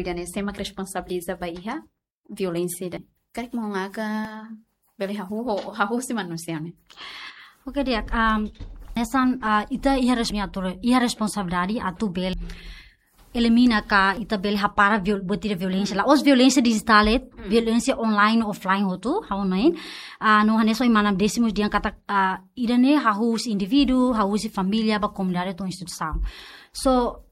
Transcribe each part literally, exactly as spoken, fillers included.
Ida-ne'e sé mak responsabiliza ba iha violénsia ida. Karik maun Aga bele hahú, hahú husi manusia ne'e. Oke, di'ak, um, hanesan, ah, ita iha res-, atu, iha responsabilidade atu bele elimina ka ita bele hapara viol-, buat ida violénsia. La'ós violénsia dijitál de'it, violénsia online, offline hotu, ha'u hanoin. Ah, no hanesan mana Décimo dehan katak, ah, ida-ne'e hahú husi indivíduu, hahú husi família, ba komunidade to'o instituisaun. So,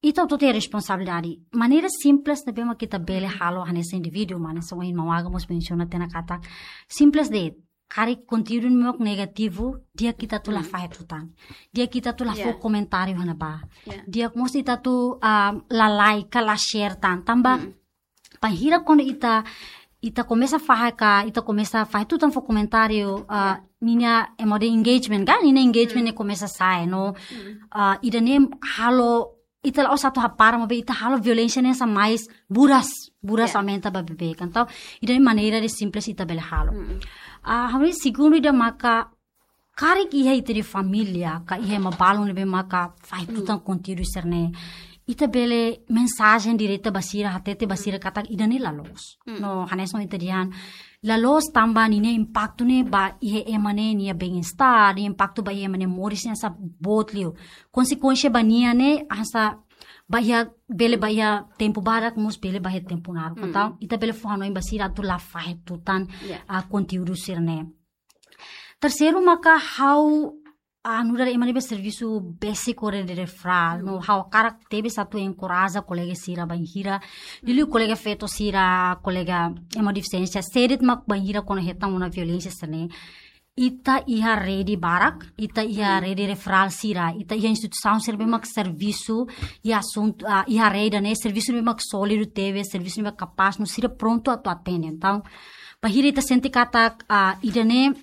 ita hotu-hotu iha responsabilidade. Maneira simples ne'ebé mak ita bele halo hanesan indivíduu, maun, hanesan ohin maun Aga mós mensiona tiha ona katak simples de'it. Karik konteúdu ne'e mak negativu, di'ak ita atu la fahe tutan. Di'ak ita atu la fó komentáriu iha ne'ebá. Ya. Di'ak mós ita atu, ah, la like, la share tan. Tanba bainhira kuandu ita, ita komesa fahe ka, ita komesa fahe tutan fó komentáriu, ah, ninia, ema dehan engagement ka, ninia engagement ne'e komesa sa'e, no. Ah, ida-ne'e halo, ita la'ós atu hapara, maibé ita halo violénsia ne'e hanesan mais buras, buras aumenta ba beibeik. Entaun, ida-ne'e maneira ida simples ita bele halo. Ah, ha'u hanoin segundu ida maka, karik iha ita-nia família, ka iha ema balun ne'ebé maka fahe tutan konteúdu sira-ne'e, ita bele mensajen direta ba sira, hatete ba sira katak ida-ne'e la loos. No, hanesan ita dehan, la loos tanba ninia impaktu ne'e ba iha ema ne'e nia bem-estar, nia impaktu ba iha ema nia moris ne'e hanesan boot liu. Konsekuénsia ba nia ne'e hanesan ba iha, bele ba iha tempu badak, mós bele ba iha tempu naruk. Entaun, ita bele fó hanoin ba sira atu la fahe tutan, ah, konteúdu sira-ne'e. Terseiru maka ha'u, ah, nu'udar ema ne'ebé servisu báziku rede referral, no, ha'u hakarak tebes atu enkoraja kolega sira bainhira, liuliu kolega feto sira, kolega ema defisiénsia, sé de'it mak bainhira kuandu hetan ona violénsia sira-ne'e. Ita iha rede barak, ita iha rede referral sira, ita iha instituisaun sira ne'ebé mak servisu iha asuntu, ah, iha área ida-ne'e, servisu ne'ebé mak sólidu tebes, servisu ne'ebé mak kapás, no sira prontu atu atende. Entaun, bainhira ita sente katak, ah, ida-ne'e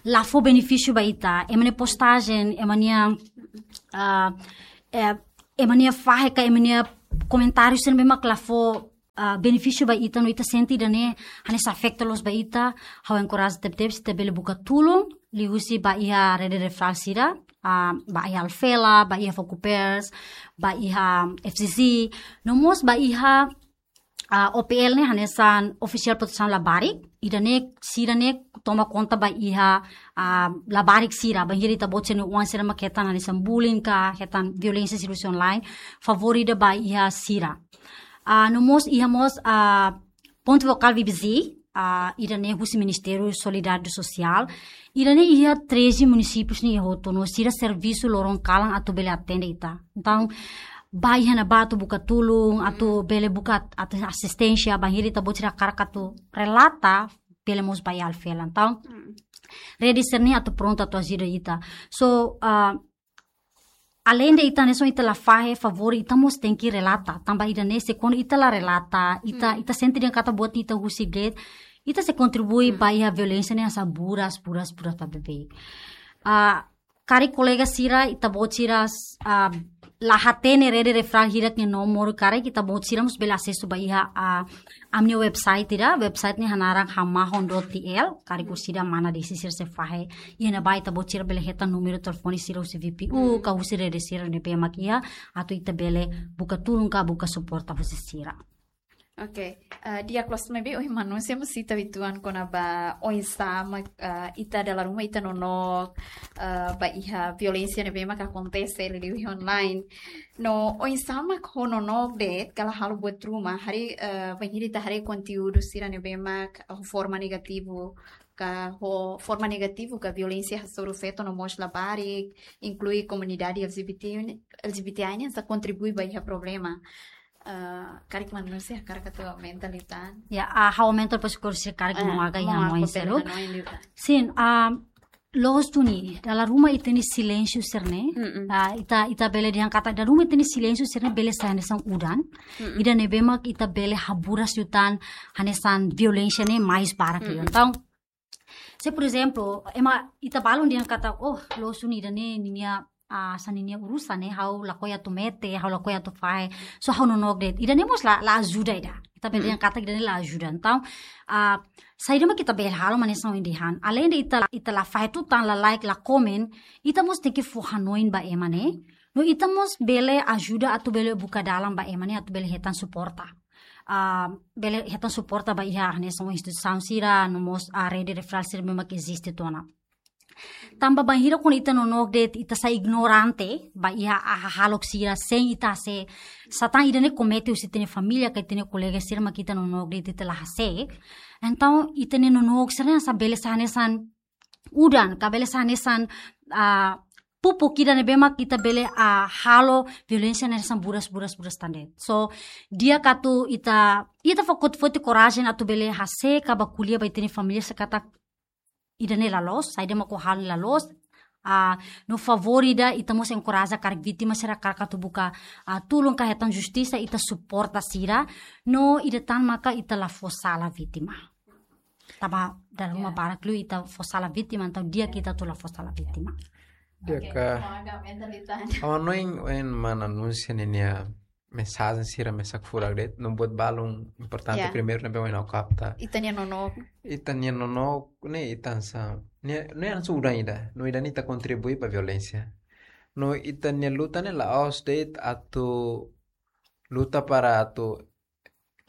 la fó benefísiu ba ita, ema nia postajen, ema nia, ah, eh, ema nia fahe ka, ema nia komentáriu sira ne'ebé mak la fó, ah, benefísiu ba ita, no ita sente ida-ne'e hanesan afeta loos ba ita, ha'u enkoraja tebetebes ita bele buka tulun liuhusi ba iha rede referral sira, ah, ba iha Alfela, ba iha Fokupers, ba iha F C C, no mós ba iha, ah, O P L ne'e hanesan Ofisiál Protesaun Labarik, ida-ne'e sira-ne'e toma konta ba iha, ah, labarik sira, bainhira ita-boot sira-nia oan sira mak hetan hanesan bullying ka, hetan violénsia sira husi online, favór ida ba iha sira. Ah, no mós iha mós, ah, Pontu Fokál V B Z, ah, ida-ne'e husi Ministériu Solidariedade Sosiál, ida-ne'e iha treze munisípius nia hotu, no sira servisu loron kalan atu bele atende ita. Entaun, ba iha ne'ebá atu buka tulun, atu bele buka at-, atu asisténsia, bainhira ita-boot sira hakarak atu relata, bele mós ba iha Alfela. Entaun, rede sira-ne'e atu prontu atu ajuda ita. So, ah, além de ita hanesan ita la fahe, favór ita mós tenke relata. Tanba ida-ne'e se kuandu ita la relata, ita, ita sente dehan katak buat ita husik de'it, ita sei kontribui ba iha violénsia ne'e hanesan buras, buras, buras ba beibeik. Ah, karik kolega sira, ita-boot sira, ah, la hatene rede referral hirak nia nomor, karik ita-boot sira mós bele asesu ba iha, ah, ami-nia website ida, website ne'e hanaran hamahon dot T L, karik orsida mana desi sira sei fahe. Iha ne'ebá ita-boot sira bele hetan númeru telefone sira husi V P U, ka husi rede sira ne'ebé mak iha, atu ita bele buka tulun ka buka suporta husi sira. Oke, eh, di'ak loos maibé ohin maun-alin sei mós sita uitoan kona-ba oinsá mak, eh, ita dala ruma ita nonook, eh, ba iha violénsia ne'ebé mak akontese liuliu iha online. No oinsá mak ho nonook de'it ka la halo buat ruma, haree, eh, bainhira ita haree konteúdu sira ne'ebé mak ho forma negativu, ka ho forma negativu ka violénsia hasoru feto no mós labarik, inklui komunidade L G B T, L G B T I nian sei kontribui ba iha problema. Eh, karik maun-alin sei hakarak atu aumenta liután. Ya, ah, ha'u aumenta depois kursi karik, eh, maun Aga iha maun komplementa seluk. Hanoin liután. Sin, ah, loos duni, dala ruma ita-nia silénsiu sira-ne'e. Ah, ita, ita bele dehan katak dala ruma ita-nia silénsiu sira-ne'e bele sai hanesan udan. Ida ne'ebé mak ita bele haburas liután hanesan violénsia ne'e mais barak liu. Entaun, se por ezemplu, ema ita balun dehan katak, oh, loos duni ida-ne'e ninia, ah, hanesan ninia urusan ne'e, ha'u lakohi atu mete, ha'u lakohi atu fahe, so ha'u nonook de'it. Ida-ne'e mós la, la ajuda ida. Ita bele dehan katak ida-ne'e la ajuda. Entaun, ah, saida mak ita bele halo mak hanesan ohin dehan. Além de ita, ita la fahe tutan, la like, la komen, ita mós tenke fó hanoin ba ema ne'e. No ita mós bele ajuda atu bele buka dalan ba ema ne'e atu bele hetan suporta. Ah, bele hetan suporta ba iha hanesan instituisaun sira, no mós, ah, rede referral sira ne'ebé mak eziste tiha ona. Tanba bainhira kuandu ita nonook de'it ita sai ignorante ba iha hahalok sira sein ita sei, sá tan ida-ne'e komete husi ita-nia família ka ita-nia kolega sira mak ita nonook de'it ita la hase'e. Entaun ita-nia nonook sira-ne'e hanesan bele sai hanesan udan, ka bele sai hanesan, ah, pupuk ida ne'ebé mak ita bele, ah, halo violénsia ne'e hanesan buras, buras, buras tan de'it. So, di'ak atu ita, ita foti, foti korajen atu bele hase'e ka bá ko'alia ba ita-nia família se katak ida-ne'e la loos, saida mak ó halo ne'e la loos. Ah, no favór ida ita mós enkoraja karik vítima sira karik atu buka, ah, tulun ka hetan justisa ita suporta sira, no ida tan maka ita la fó sala vítima. Tanba dala ruma barak liu ita fó sala vítima, entaun di'ak ita atu la fó sala vítima. Di'ak. Oke, ka, maga mental ita. Ha'u hanoin ohin mana Núncia ninia mensajen sira mesak furak de'it, no buat balun importante. Ya. Primeiru ne'ebé ohin ha'u kapta. Ita-nia nonook. Ita-nia nonook, ne'e ita hanesan, ne'e, ne'e hanesan udan ida, no ida-ne'e ita kontribui ba violénsia. No ita-nia luta ne'e la'ós de'it atu luta para atu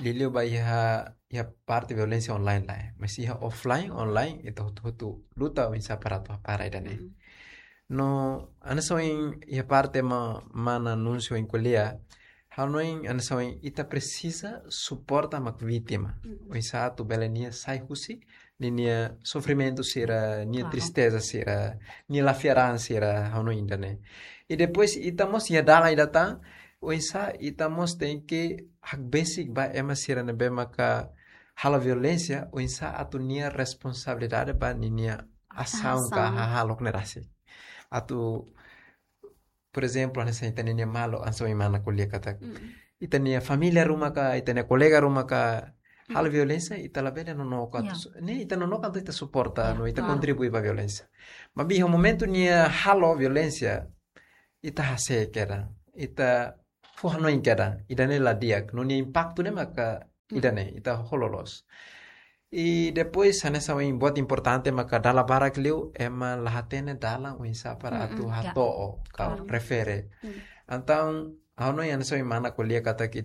liuliu ba iha, iha parte violénsia online lae. Mas iha offline, online, ita hotu-hotu luta oinsá para atu hapara ida-ne'e. Mm. No, hanesan ohin iha parte ma-, mana Núncia ohin ko'alia, ha'u hanoin hanesan ohin ita presiza suporta mak vítima. Mm. Oinsá atu bele nia sai husi ninia sofrimentu sira, nia, klaru, tristeza sira, nia la fiar an sira, ha'u hanoin ida-ne'e. I depois ita mós iha dalan ida tan, oinsá ita mós tenke hakbesik ba ema sira ne'ebé maka halo violénsia, oinsá atu nia responsabilidade ba ninia asaun ka, asaun, hahalok ne'e rasik. Atu, por ezemplu, hanesan ita-nia maluk, hanesan ohin mana ko'alia katak. Mm. Ita-nia família ruma ka, ita-nia kolega ruma ka, halo, mm, violénsia, ita labele nonook atu, ya, su-, ne'e ita nonook atu ita suporta, ya, no ita, klaru, kontribui ba violénsia. Maibé iha momentu nia halo violénsia, ita hase'e kedan, ita fó hanoin kedan, ida-ne'e la di'ak, no nia impaktu ne'e maka, mm, ida-ne'e, ita halo loos. I depois, hanesan ohin buat importante maka dala barak liu, ema la hatene dalan oinsá para, mm-mm, atu, ya, hato'o, ka, klaru, refere. Mm. Entaun, ha'u hanoin hanesan ohin mana ko'alia katak ita